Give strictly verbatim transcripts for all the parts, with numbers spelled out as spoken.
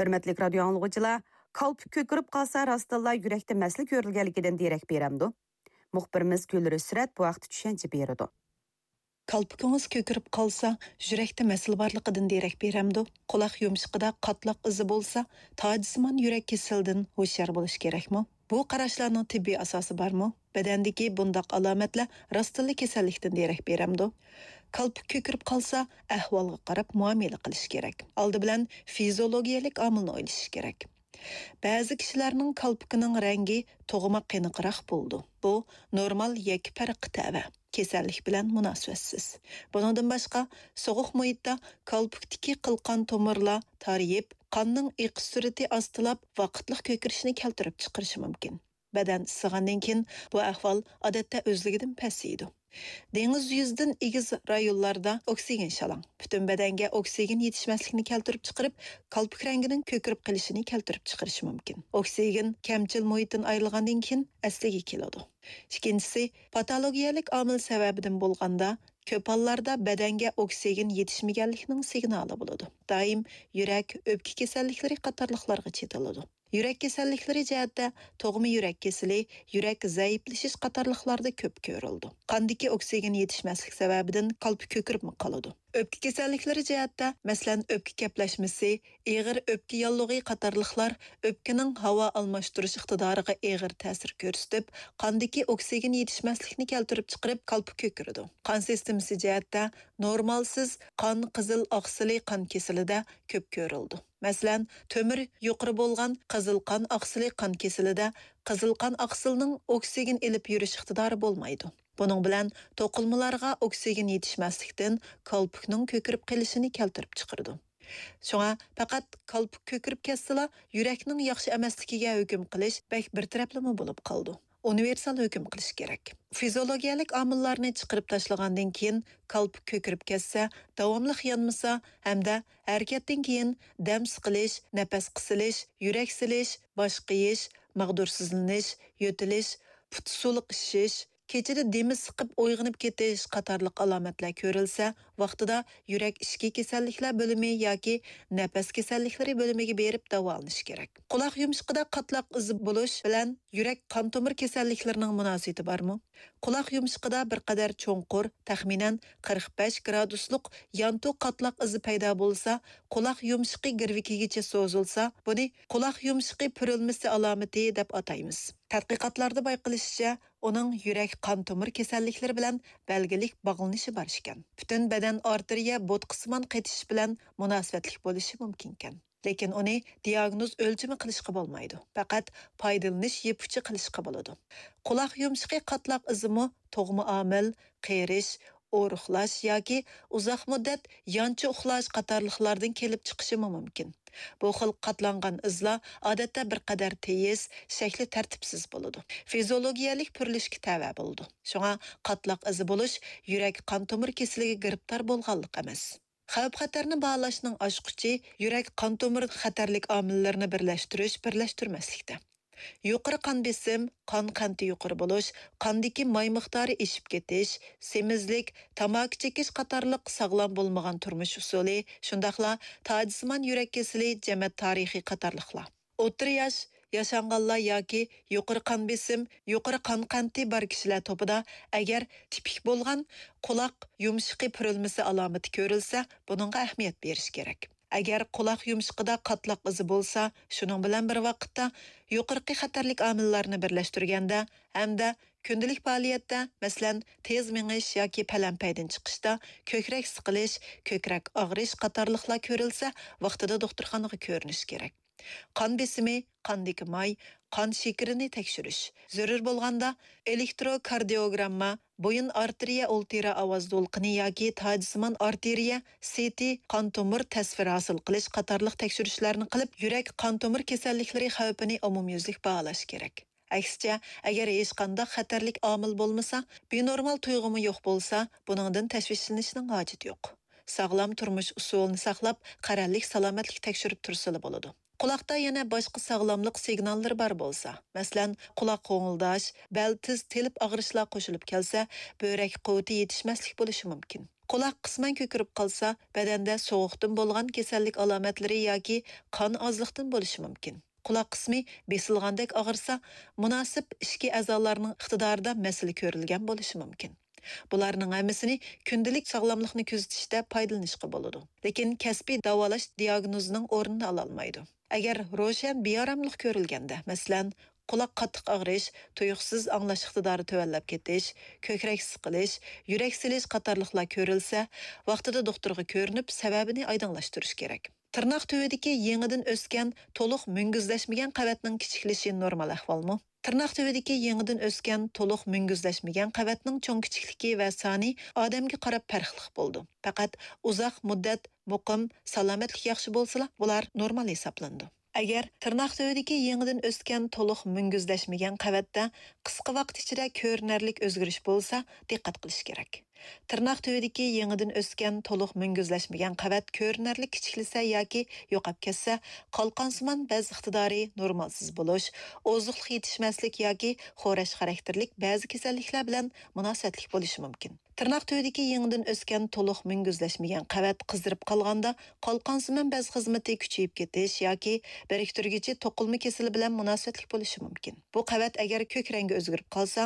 ھۆرمەتلىك رادىيو ئاڭلىغۇچىلار، كالپۇك كۆكىرىپ قالسا راستتىنلا يۈرەكتە مەسىلە كۆرۈلگەنلىكىدىن دېرەك بېرەمدۇ؟ مۇخبىرىمىز گۈلرۈسرەت بۇ ھەقتە چۈشەنچە بېرىدۇ. كالپۇكىڭىز كۆكىرىپ قالسا يۈرەكتە مەسىلە بارلىقىدىن دېرەك بېرەمدۇ؟ قۇلاق يۇمشىقىدا قاتلاق ئىزى بولسا تاجسىمان يۈرەك كېسىلىدىن ھوشيار بولۇش كېرەكمۇ؟ بۇ قاراشلارنىڭ تېببىي ئاساسى بارمۇ؟ بەدەندىكى بۇنداق ئالامەتلەر راستتىنلا كېسەللىكتىن دېرەك بېرەمدۇ؟ كالپۇك كۆكىرىپ قالسا ئەھۋالغا قاراپ مۇئامىلە قىلىش كېرەك. ئالدى بىلەن فىزىئولوگىيەلىك ئامىلنى ئويلىشىش كېرەك. بەزى كىشىلەرنىڭ كالپۇكىنىڭ رەڭگى تۇغما قېنىقراق بولىدۇ. بۇ نورمال ياكى پەرققە تەۋە، كېسەللىك بىلەن مۇناسىۋەتسىز. بۇنىڭدىن باشقا، سوغۇق مۇھىتتا كالپۇكتىكى قىلقان تومۇرلار تارىيىپ، قاننىڭ ئېقىش سۈرئىتى ئاستىلاپ، ۋاقىتلىق كۆكىرىشنى كەلتۈرۈپ چىقىرىشى مۇمكىن. بەدەن ئىسسىغاندىن كېيىن بۇ ئەھۋال ئادەتتە ئۆزلۈكىدىن پەسىيىدۇ. دېڭىز يۈزىدىن ئېگىز رايونلاردا ئوكسىگېن شالاڭ، پۈتۈن بەدەنگە ئوكسىگېن يېتىشمەسلىكنى كەلتۈرۈپ چىقىرىپ، كالپۇك رەڭگىنىڭ كۆكىرىپ قېلىشىنى كەلتۈرۈپ چىقىرىشى مۇمكىن. ئوكسىگېن كەمچىل مۇھىتتىن ئايرىلغاندىن كېيىن ئەسلىگە كېلىدۇ. ئىككىنچىسى، پاتولوگىيەلىك ئامىل سەۋەبىدىن بولغاندا، كۆپ ھاللاردا بەدەنگە ئوكسىگېن يېتىشمىگەنلىكنىڭ سىگنالى بولىدۇ. دائىم يۈرەك، ئۆپكە كېسەللىكلىرى قاتارلىقلارغا چېتىلىدۇ. يۈرەك كېسەللىكلىرى جەھەتتە تۇغما يۈرەك كېسىلى، يۈرەك زەئىپلىشىش قاتارلىقلاردا كۆپ كۆرۈلىدۇ. قاندىكى ئوكسىگېن يېتىشمەسلىك سەۋەبىدىن كالپۇك كۆكىرىپمۇ قالىدۇ. ئۆپكە كېسەللىكلىرى جەھەتتە، مەسىلەن، ئۆپكە كەپلەشمىسى، ئېغىر ئۆپكە ياللۇغى قاتارلىقلار ئۆپكىنىڭ ھاۋا ئالماشتۇرۇش ئىقتىدارىغا ئېغىر تەسىر كۆرسىتىپ، قاندىكى ئوكسىگېن يېتىشمەسلىكنى كەلتۈرۈپ چىقىرىپ، كالپۇك كۆكىرىدۇ. قان سىستېمىسى جەھەتتە، نورمالسىز قان قىزىل ئاقسىلى قان كېسىلىدە كۆپ كۆرۈلىدۇ. مەسىلەن، تۆمۈر يۇقىرى بولغان قىزىل قان ئاقسىلى قان كېسىلىدە قىزىل قان ئاقسىلنىڭ ئوكسىگېن ئېلىپ يۈرۈش ئىقتىدارى بولمايدۇ. بۇنىڭ بىلەن توقۇلمىلارغا ئوكسىگېن يېتىشمەسلىكتىن كالپۇكنىڭ كۆكىرىپ قېلىشىنى كەلتۈرۈپ چىقىرىدۇ. شۇڭا پەقەت كالپۇك كۆكىرىپ كەتسىلا، يۈرەكنىڭ ياخشى ئەمەسلىكىگە ھۆكۈم قىلىش بەك بىر تەرەپلىمە بولۇپ قالىدۇ. ئۇنىۋېرسال ھۆكۈم قىلىش كېرەك. فىزىئولوگىيەلىك ئامىللارنى چىقىرىپ تاشلىغاندىن كېيىن، كالپۇك كۆكىرىپ كەتسە، داۋاملىق يانمىسا ھەمدە ھەرىكەتتىن كېيىن دەم سىقىلىش، نەپەس قىسىلىش، يۈرەك سېلىش، باش قېيىش، ماغدۇرسىزلىنىش، يۆتىلىش، پۇت سۇلۇق ئىششىش، كېچىدە دېمى سىقىپ ئويغىنىپ كېتىش قاتارلىق ئالامەتلەر كۆرۈلسە، ۋاقتىدا يۈرەك ئىچكى كېسەللىكلەر بۆلۈمى ياكى نەپەس كېسەللىكلىرى بۆلۈمىگە بېرىپ داۋالىنىش كېرەك. قۇلاق يۇمشىقىدا قاتلاق ئىزى بولۇش بىلەن يۈرەك قان تومۇر كېسەللىكلىرىنىڭ مۇناسىۋىتى بارمۇ؟ قۇلاق يۇمشىقىدا بىر قەدەر چوڭقۇر، تەخمىنەن قىرىق بەش گرادۇسلۇق يانتۇ قاتلاق ئىزى پەيدا بولسا، قۇلاق يۇمشىقى گىرۋىكىگىچە سوزۇلسا، بۇنى قۇلاق يۇمشىقى پۈرۈلمىسى ئالامىتى دەپ ئاتايمىز. تەتقىقاتلاردا بايقىلىشىچە، ئۇنىڭ يۈرەك قان تومۇر كېسەللىكلىرى بىلەن بەلگىلىك باغلىنىشى بار ئىكەن. پۈتۈن بەدەن ئارتېرىيە بوتقىسىمان قېتىشىش بىلەن مۇناسىۋەتلىك بولۇشى مۇمكىنكەن. لېكىن ئۇنى دىئاگنوز ئۆلچىمى قىلىشقا بولمايدۇ، پەقەت پايدىلىنىش يىپ ئۇچى قىلىشقا بولىدۇ. قۇلاق يۇمشىقى قاتلاق ئىزىمۇ تۇغما ئامىل، قېرىش، ئورۇقلاش ياكى ئۇزاق مۇددەت يانچە ئۇخلاش قاتارلىقلاردىن كېلىپ چىقىشىمۇ مۇمكىن. بۇ خىل قاتلانغان ئىزلار ئادەتتە بىر قەدەر تېيىز، شەكلى تەرتىپسىز بولىدۇ. فىزىئولوگىيەلىك پۈرۈلۈشكە تەۋە بولىدۇ. شۇڭا قاتلاق ئىزى بولۇش يۈرەك قان تومۇر كېسىلىگە گىرىپتار بولغانلىق ئەمەس. خەۋپ-خەتەرنى باھالاشنىڭ ئاچقۇچى يۈرەك قان تومۇر خەتەرلىك ئامىللىرىنى بىرلەشتۈرۈش، بىرلەشتۈرمەسلىكتە. يۇقىرى قان بېسىم، قان قەنتى يۇقىرى بولۇش، قاندىكى ماي مىقدارى ئېشىپ كېتىش، سېمىزلىك، تاماكا چېكىش قاتارلىق ساغلام بولمىغان تۇرمۇش ئۇسۇلى، شۇنداقلا تاجسىمان يۈرەك كېسىلى، جەمەت تارىخى قاتارلىقلار. ئوتتۇرا ياش، ياشانغانلار ياكى يۇقىرى قان بېسىم، يۇقىرى قان قەنتى بار كىشىلەر توپىدا ئەگەر تىپىك بولغان قۇلاق يۇمشىقى پۈرۈلمىسى ئالامىتى كۆرۈلسە، بۇنىڭغا ئەھمىيەت بېرىش كېرەك. ئەگەر قۇلاق يۇمشىقىدا قاتلاق ئىزى بولسا، شۇنىڭ بىلەن بىر ۋاقىتتا يۇقىرىقى خەتەرلىك ئامىللارنى بىرلەشتۈرگەندە ھەمدە كۈندىلىك پائالىيەتتە، مەسىلەن، تېز مېڭىش ياكى پەلەمپەيدىن چىقىشتا كۆكرەك سىقىلىش، كۆكرەك ئاغرىش قاتارلىقلار كۆرۈلسە، ۋاقتىدا دوختۇرخانىغا كۆرۈنۈش كېرەك. قان بېسىمى، قاندىكى ماي، قان شېكىرىنى تەكشۈرۈش. زۆرۈر بولغاندا، ئېلېكتروكاردىيوگرامما، بويۇن ئارتېرىيە ئولتىرا ئاۋاز دولقۇنى ياكى تاجسىمان ئارتېرىيە سىتى قان تومۇر تەسۋىرى ھاسىل قىلىش قاتارلىق تەكشۈرۈشلەرنى قىلىپ، يۈرەك قان تومۇر كېسەللىكلىرى خەۋپىنى ئومۇميۈزلۈك باھالاش كېرەك. ئەكسىچە، ئەگەر ھېچقانداق خەتەرلىك ئامىل بولمىسا، بىنورمال تۇيغۇمۇ يوق بولسا، بۇنىڭدىن تەشۋىشلىنىشنىڭ ھاجىتى يوق. ساغلام تۇرمۇش ئۇسۇلىنى ساقلاپ، قەرەللىك سالامەتلىك تەكشۈرۈپ تۇرسىلا بولىدۇ. قۇلاقتا يەنە باشقا ساغلاملىق سىگناللىرى بار بولسا، مەسىلەن، قۇلاق غوڭۇلداش، بەل تىز تېلىپ ئاغرىشلار قوشۇلۇپ كەلسە، بۆرەك قۇۋۋىتى يېتىشمەسلىك بولۇشى مۇمكىن. قۇلاق قىسمەن كۆكىرىپ قالسا، بەدەندە سوغۇقتىن بولغان كېسەللىك ئالامەتلىرى ياكى قان ئازلىقتىن بولۇشى مۇمكىن. قۇلاق قىسمى بېسىلغاندەك ئاغرىسا، مۇناسىپ ئىچكى ئەزالارنىڭ ئىقتىدارىدا مەسىلە كۆرۈلگەن بولۇشى مۇمكىن. بۇلارنىڭ ھەممىسىنى كۈندىلىك ساغلاملىقنى كۆزىتىشتە پايدىلىنىشقا بولىدۇ، لېكىن كەسپىي داۋالاش دىياگنوزىنىڭ ئورنىنى ئالالمايدۇ. ئەگەر روشەن بىئاراملىق كۆرۈلگەندە، مەسىلەن، قۇلاق قاتتىق ئاغرىش، تۇيۇقسىز ئاڭلاش ئىقتىدارى تۆۋەنلەپ كېتىش، كۆكرەك سىقىلىش، يۈرەك سېلىش قاتارلىقلار كۆرۈلسە، ۋاقتىدا دوختۇرغا كۆرۈنۈپ، سەۋەبىنى ئايدىڭلاشتۇرۇش كېرەك. تىرناق تۈۋىدىكى يېڭىدىن ئۆسكەن، تولۇق مۈڭگۈزلەشمىگەن قەۋەتنىڭ كىچىكلىشى نورمال ئەھۋالمۇ؟ تىرناق تۈۋىدىكى يېڭىدىن ئۆسكەن، تولۇق مۈڭگۈزلەشمىگەن قەۋەتنىڭ چوڭ-كىچىكلىكى ۋە سانى ئادەمگە قاراپ پەرقلىق بولىدۇ. پەقەت ئۇزاق مۇددەت مۇقىم، سالامەتلىك ياخشى بولسىلا، بۇلار نورمال ھېسابلىنىدۇ. ئەگەر تىرناق تۈۋىدىكى يېڭىدىن ئۆسكەن، تولۇق مۈڭگۈزلەشمىگەن قەۋەتتە قىسقا ۋاقىت ئىچىدە كۆرۈنەرلىك ئۆزگىرىش بولسا، دىققەت قىلىش كېرەك. تىرناق تۈۋىدىكى يېڭىدىن ئۆسكەن، تولۇق مۈڭگۈزلەشمىگەن قەۋەت كۆرۈنەرلىك كىچىكلىسە ياكى يوقاپ كەتسە، قالقانسىمان بەز ئىقتىدارى نورمالسىز بولۇش، ئوزۇقلۇق يېتىشمەسلىك ياكى خورەش خاراكتېرلىك بەزى كېسەللىكلەر بىلەن مۇناسىۋەتلىك بولۇشى مۇمكىن. تىرناق تۈۋىدىكى يېڭىدىن ئۆسكەن، تولۇق مۈڭگۈزلەشمىگەن قەۋەت قىزىرىپ قالغاندا، قالقانسىمان بەز خىزمىتى كۈچىيىپ كېتىش ياكى بىرىكتۈرگۈچى توقۇلما كېسىلى بىلەن مۇناسىۋەتلىك بولۇشى مۇمكىن. بۇ قەۋەت ئەگەر كۆك رەڭگە ئۆزگىرىپ قالسا،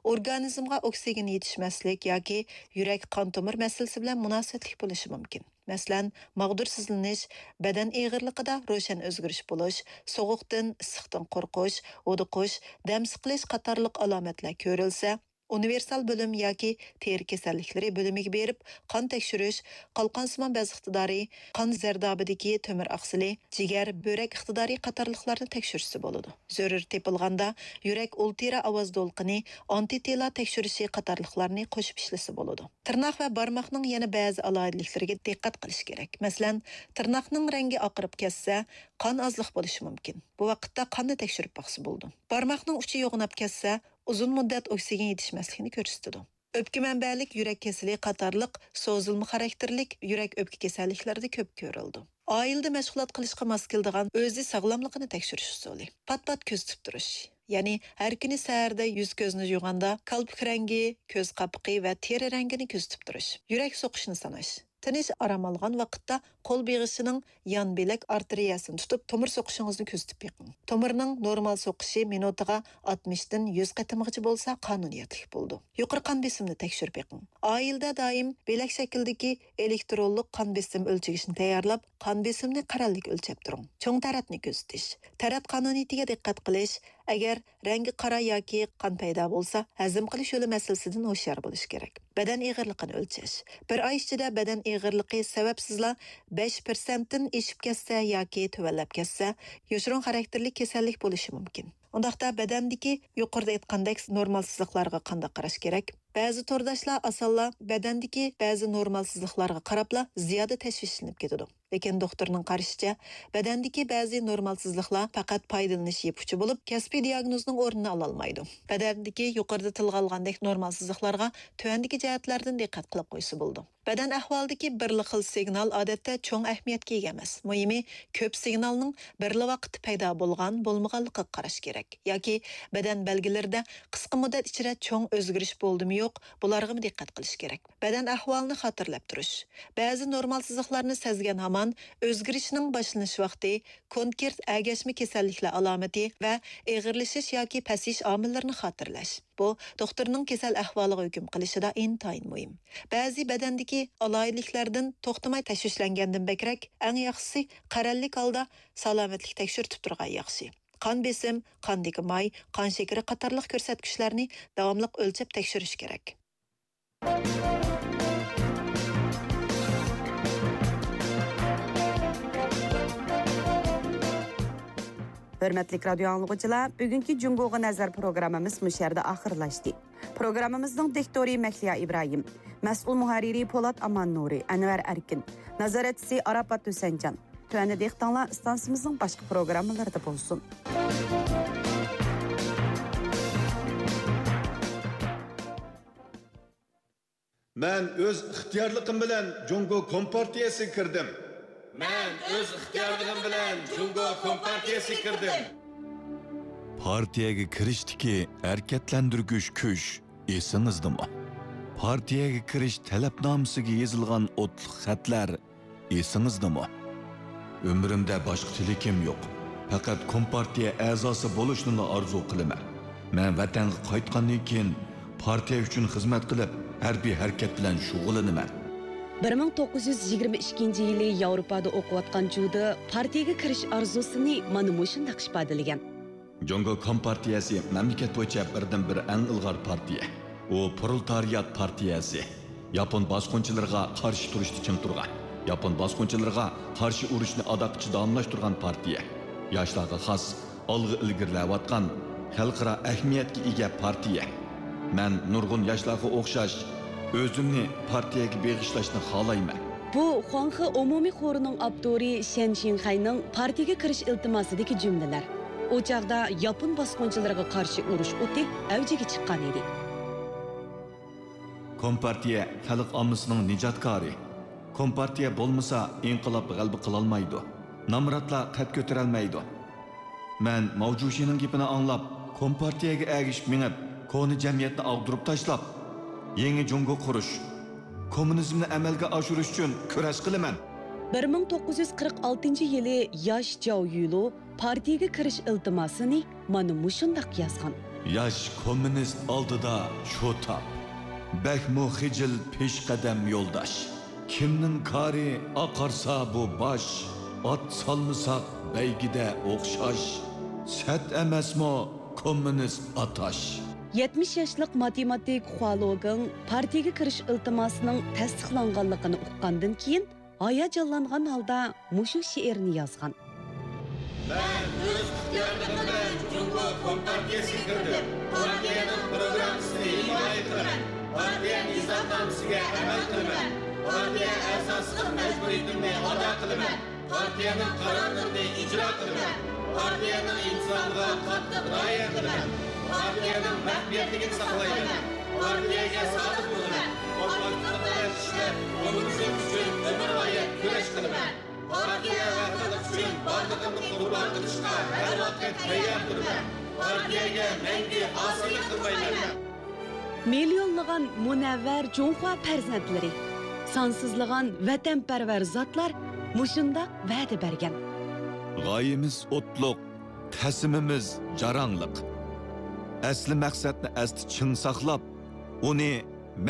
ئورگانىزمغا ئوكسىگېن يېتىشمەسلىك ياكى يۈرەك قان تومۇر مەسىلىسى بىلەن مۇناسىۋەتلىك بولۇشى مۇمكىن. مەسىلەن، ماغدۇرسىزلىنىش، بەدەن ئېغىرلىقىدا روشەن ئۆزگىرىش بولۇش، سوغۇقتىن، ئىسسىقتىن قورقۇش، ھودۇقۇش، دەم سىقىلىش قاتارلىق ئالامەتلەر كۆرۈلسە، ئۇنىۋېرسال بۆلۈم ياكى تېرە كېسەللىكلىرى بۆلۈمىگە بېرىپ، قان تەكشۈرۈش، قالقانسىمان بەز ئىقتىدارى، قان زەردابىدىكى تۆمۈر ئاقسىلى، جىگەر، بۆرەك ئىقتىدارى قاتارلىقلارنى تەكشۈرسە بولىدۇ. زۆرۈر تېپىلغاندا، يۈرەك ئۇلترا ئاۋاز دولقۇنى، ئانتىتېلا تەكشۈرۈشى قاتارلىقلارنى قوشۇپ ئىشلىسە بولىدۇ. تىرناق ۋە بارماقنىڭ يەنە بەزى ئالاھىدىلىكلىرىگە دىققەت قىلىش كېرەك. مەسىلەن، تىرناقنىڭ رەڭگى ئاقىرىپ كەتسە، قان ئازلىق بولۇشى مۇمكىن. بۇ ۋاقىتتا قاننى تەكشۈرۈپ باقسا بولىدۇ. بارماقنىڭ ئۇچى يوغىناپ كەتسە، ئۇزۇن مۇددەت ئوكسىگېن يېتىشمەسلىكنى كۆرسىتىدۇ. ئۆپكە مەنبەلىك يۈرەك كېسىلى قاتارلىق سوزۇلما خاراكتېرلىك يۈرەك ئۆپكە كېسەللىكلىرىدە كۆپ كۆرۈلىدۇ. ئائىلىدە مەشغۇلات قىلىشقا ماس كېلىدىغان ئۆزى ساغلاملىقىنى تەكشۈرۈش ئۇسۇلى. پات-پات كۆزىتىپ تۇرۇش. يەنى ھەر كۈنى سەھەردە يۈز-كۆزنى يۇغاندا كالپۇك رەڭگى، كۆز قاپىقى ۋە تېرە رەڭگىنى كۆزىتىپ تۇرۇش. يۈرەك سوقۇشنى ساناش. تىنچ ئارام ئالغان ۋاقىتتا قول بېغىشىنىڭ يان بىلەك ئارتېرىيەسىنى تۇتۇپ، تومۇر سوقۇشىڭىزنى كۆزىتىپ بېقىڭ. تومۇرنىڭ نورمال سوقۇشى مىنۇتىغا ئاتمىشتىن يۈز قېتىمغىچە بولسا قانۇنىيەتلىك بولىدۇ. يۇقىرى قان بېسىمنى تەكشۈرۈپ بېقىڭ. ئائىلىدە دائىم بىلەك شەكلىدىكى ئېلېكترونلۇق قان بېسىم ئۆلچىگۈچنى تەييارلاپ، قان بېسىمنى قەرەللىك ئۆلچەپ تۇرۇڭ. چوڭ تەرەتنى كۆزىتىش، تەرەت قانۇنىيىتىگە دىققەت قىلىش، ئەگەر رەڭگى قارا ياكى قان پەيدا بولسا، ھەزىم قىلىش يولى مەسىلىسىدىن ھوشيار بولۇش كېرەك. بەدەن ئېغىرلىقىنى ئۆلچەش. بىر ئاي ئىچىدە بەدەن ئېغىرلىقى سەۋەبسىزلا بەش پىرسەنتتىن ئېشىپ كەتسە ياكى تۆۋەنلەپ كەتسە، يوشۇرۇن خاراكتېرلىك كېسەللىك بولۇشى مۇمكىن. ئۇنداقتا بەدەندىكى، يۇقىرىدا ئېيتقاندەك، نورمالسىزلىقلارغا قانداق قاراش كېرەك؟ بەزى تورداشلار ئاسانلا بەدەندىكى بەزى نورمالسىزلىقلارغا قاراپلا زىيادە تەشۋىشلىنىپ كېتىدۇ. لېكىن دوختۇرنىڭ قارىشىچە، بەدەندىكى بەزى نورمالسىزلىقلار پەقەت پايدىلىنىش يىپ ئۇچى بولۇپ، كەسپىي دىياگنوزنىڭ ئورنىنى ئالالمايدۇ. بەدەندىكى يۇقىرىدا تىلغا ئالغاندەك نورمالسىزلىقلارغا تۆۋەندىكى جەھەتلەردىن دىققەت قىلىپ قويسا بولىدۇ. بەدەن ئەھۋالىدىكى بىرلا خىل سىگنال ئادەتتە چوڭ ئەھمىيەتكە ئىگە ئەمەس. مۇھىمى، كۆپ سىگنالنىڭ بىرلا ۋاقىتتا پەيدا بولغان، بولمىغانلىقىغا قاراش كېرەك. ياكى بەدەن بەلگىلىرىدە قىسقا مۇددەت ئىچىدە چوڭ ئۆزگىرىش بولدىمۇ يوق، بۇلارغىمۇ دىققەت قىلىش كېرەك. بەدەن ئەھۋالىنى خاتىرىلەپ تۇرۇش. بەزى نورمالسىزلىقلارنى سەزگەن ھامان ئۆزگىرىشنىڭ باشلىنىش ۋاقتى، كونكرېت ئەگەشمە كېسەللىكلەر ئالامىتى ۋە ئېغىرلىشىش ياكى پەسىيىش ئامىللىرىنى خاتىرىلەش. بۇ دوختۇرنىڭ كېسەل ئەھۋالىغا ھۆكۈم قىلىشىدا ئىنتايىن مۇھىم. بەزى بەدەندىكى ئالاھىدىلىكلەردىن توختىماي تەشۋىشلەنگەندىن بەكرەك، ئەڭ ياخشىسى قەرەللىك ھالدا سالامەتلىك تەكشۈرتۈپ تۇرغان ياخشى. قان بېسىم، قاندىكى ماي، قان شېكىرى قاتارلىق كۆرسەتكۈچلەرنى داۋاملىق ئۆلچەپ تەكشۈرۈش كېرەك. ھۆرمەتلىك رادىيو ئاڭلىغۇچىلار، بۈگۈنكى جۇڭگوغا نەزەر پروگراممىمىز مۇشۇ يەردە ئاخىرلاشتى. پروگراممىمىزنىڭ دىكتورى مەھلىيا ئىبراھىم، مەسئۇل مۇھەررىرى پولات ئامان نۇرى، ئەنۋەر ئەركىن، نازارەتچىسى ئاراپات ھۈسەنجان. تۆۋەندە دىققىتىڭلار ئىستانسىمىزنىڭ باشقا پروگراممىلىرىدا بولسۇن. مەن ئۆز ئىختىيارلىقىم بىلەن جۇڭگو كومپارتىيەسىگە كىردىم. مەن ئۆز ئىختىيارلىقىم بىلەن جۇڭگو كومپارتىيەسىگە كىردىم. پارتىيەگە كىرىشتىكى ھەرىكەتلەندۈرگۈچ كۈچ ئېسىڭىزدىمۇ؟ پارتىيەگە كىرىش تەلەپنامىسىگە يېزىلغان ئوتلۇق خەتلەر ئېسىڭىزدىمۇ؟ ئۆمرۈمدە باشقا تىلىكىم يوق. پەقەت كومپارتىيە ئەزاسى بولۇشنىلا ئارزۇ قىلىمەن. مەن ۋەتەنگە قايتقاندىن كېيىن پارتىيە ئۈچۈن خىزمەت قىلىپ، ھەربىي ھەرىكەت بىلەن شۇغۇللىنىمەن. بىر مىڭ توققۇز يۈز يىگىرمە ئىككىنچى يىلى ياۋروپادا ئوقۇۋاتقان جۇدا پارتىيەگە كىرىش ئارزۇسىنى مانا مۇشۇنداق ئىپادىلىگەن. جۇڭگو كومپارتىيەسى مەملىكەت بويىچە بىردىنبىر ئەڭ ئىلغار پارتىيە. ئۇ پرولېتارىيات پارتىيەسى. ياپون باسقۇنچىلىرىغا قارشى تۇرۇشتا چىڭ تۇرغان، ياپون باسقۇنچىلىرىغا قارشى ئۇرۇشنى ئاداققىچە داۋاملاشتۇرغان پارتىيە. ياشلارغا خاس، ئالغا ئىلگىرىلەۋاتقان، خەلقئارا ئەھمىيەتكە ئىگە پارتىيە. مەن نۇرغۇن ياشلارغا ئوخشاش، ئۆزۈمنى پارتىيەگە بېغىشلاشنى خالايمەن. بۇ خۇاڭخې ئومۇمىي خورىنىڭ ئاپتورى شەن شىنخەينىڭ پارتىيەگە كىرىش ئىلتىماسىدىكى جۈملىلەر. ئۇ چاغدا ياپون باسقۇنچىلىرىغا قارشى ئۇرۇش ئوتى ئەۋجىگە چىققان ئىدى. كومپارتىيە خەلق ئاممىسىنىڭ نىجاتكارى. كومپارتىيە بولمىسا، ئىنقىلاب غەلىبە قىلالمايدۇ. نامراتلار قەد كۆتۈرەلمەيدۇ. مەن ماۋ جۇشىنىڭ گېپىنى ئاڭلاپ، كومپارتىيەگە ئەگىشىپ مېڭىپ، كونا جەمئىيەتنى ئاغدۇرۇپ تاشلاپ، يېڭى جۇڭگو قۇرۇش، كوممۇنىزمنى ئەمەلگە ئاشۇرۇش ئۈچۈن كۈرەش قىلىمەن. بىر مىڭ توققۇز يۈز قىرىق ئالتىنچى يىلى ياش جاۋ يۈلۇ پارتىيىگە كىرىش ئىلتىماسىنى مانا مۇشۇنداق يازغان. ياش كوممۇنىست ئالدىدا شۇ تاپ. بەكمۇ خىجىل پېشقەدەم يولداش. كىمنىڭ كارى ئاقارسا بۇ باش. ئات سالمىساق بەيگىدە ئوخشاش. سەت ئەمەسمۇ كوممۇنىست ئاتاش. يەتمىش ياشلىق ماتېماتىك خۇا لوگېڭ پارتىيىگە كىرىش ئىلتىماسىنىڭ تەستىقلانغانلىقىنى ئۇققاندىن كېيىن، ھاياجانلانغان ھالدا مۇشۇ شېئىرنى يازغان. مەن ئۆز ئىختىيارلىقىم بىلەن جۇڭگو كومپارتىيەسىگە كىردىم. پارتىيەنىڭ پروگراممىسىنى ھىمايە قىلىمەن. پارتىيە نىزامنامىسىگە ئەمەل قىلىمەن. پارتىيە ئەزاسىلىق مەجبۇرىيىتىمنى ئادا قىلىمەن. پارتىيەنىڭ قارارلىرىنى ئىجرا قىلىمەن. پارتىيەنىڭ ئىنتىزامىغا قاتتىق رىئايە قىلىمەن. پارتىيەنىڭ مەخپىيەتلىكىنى ساقلايمەن. پارتىيەگە سادىق بولىمەن. ئاكتىپلىق بىلەن ئىشلەپ، كوممۇنىزم ئۈچۈن ئۆمۈرغايەت كۈرەش قىلىمەن. پارتىيە ۋە خەلق ئۈچۈن بارلىقىمنى قۇربان قىلىشقا ھەر ۋاقىت تەييار تۇرىمەن. پارتىيەگە مەڭگۈ ئاسىيلىق قىلمايمەن. مىليونلىغان مۇنەۋۋەر جۇڭخۇا پەرزەنتلىرى، سانسىزلىغان ۋەتەنپەرۋەر زاتلار مۇشۇنداق ۋەدە بەرگەن. غايىمىز ئوتلۇق، پەسىمىمىز جاراڭلىق. ئەسلى مەقسەتنى ئەستە چىڭ ساقلاپ، ئۇنى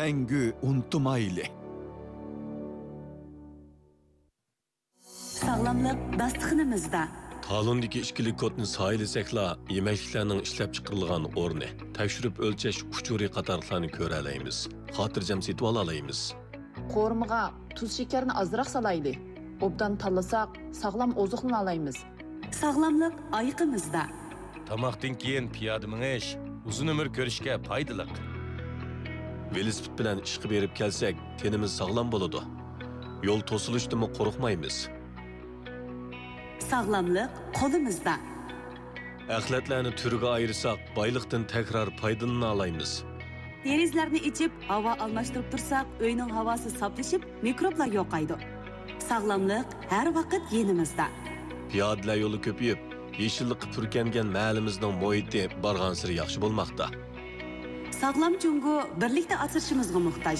مەڭگۈ ئۇنتۇمايلى. ساغلاملىق داستىخىنىمىزدا. تالوندىكى ئىككىلىك كودنى سايىلىسەكلا، يېمەكلىكلەرنىڭ ئىشلەپچىقىرىلغان ئورنى، تەكشۈرۈپ ئۆلچەش ئۇچۇرى قاتارلىقلارنى كۆرەلەيمىز. خاتىرجەم سېتىۋالالايمىز. قورۇمىغا تۇز شېكەرنى ئازراق سالايلى. ئوبدان تاللىساق، ساغلام ئوزۇقلىنالايمىز. ساغلاملىق ئايىقىمىزدا. تاماقتىن كېيىن پىيادە مېڭىش ئۇزۇن ئۆمۈر كۆرۈشكە پايدىلىق. ۋېلىسىپىت بىلەن ئىشقا بېرىپ كەلسەك، تېنىمىز ساغلام بولىدۇ. يول توسۇلۇشتىنمۇ قورقمايمىز. ساغلاملىق قولىمىزدا. ئەخلەتلەرنى تۈرگە ئايرىساق، بايلىقتىن تەكرار پايدىلىنالايمىز. دېرىزىلەرنى ئېچىپ، ھاۋا ئالماشتۇرۇپ تۇرساق، ئۆينىڭ ھاۋاسى ساپلىشىپ، مىكروبلار يوقايدۇ. ساغلاملىق ھەر ۋاقىت يېنىمىزدا. پىيادىلەر يولى كۆپىيىپ، يېشىللىققا پۈركەنگەن مەھەللىمىزنىڭ مۇھىتى بارغانسېرى ياخشى بولماقتا. ساغلام جۇڭگو بىرلىكتە ئاسرىشىمىزغا موھتاج.